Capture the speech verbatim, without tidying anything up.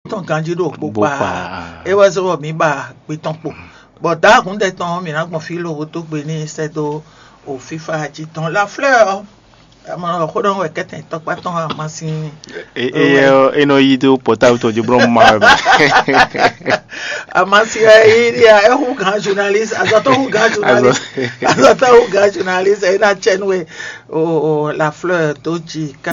tɔn ganjí ɖo kpó kpa. É wɛ zɔ́ bɔ mǐ ba gbe tɔn kpo. Bɔ dǎhúndɛ tɔn ɔ́, mǐ ná gbɔn fí lóhó dó gbe n'i sɛ́ dó o fífá jí tɔn. La Fleur ɔ́, amɔ xó ɖɔ wɛ kɛtɛn tɔkpá tɔn amasin. Eyɛ ɔ, e nɔ yi dó pɔtábu tɔn jí blɔ́ ma wɛ mɛ. Amasin ɛ yi ɖi a, é hu gǎn journaliste, azɔtɔ hu gǎn journaliste, azɔtɔ hu gǎn journaliste, é ná tsɛ nú e o o La Fleur dó jí.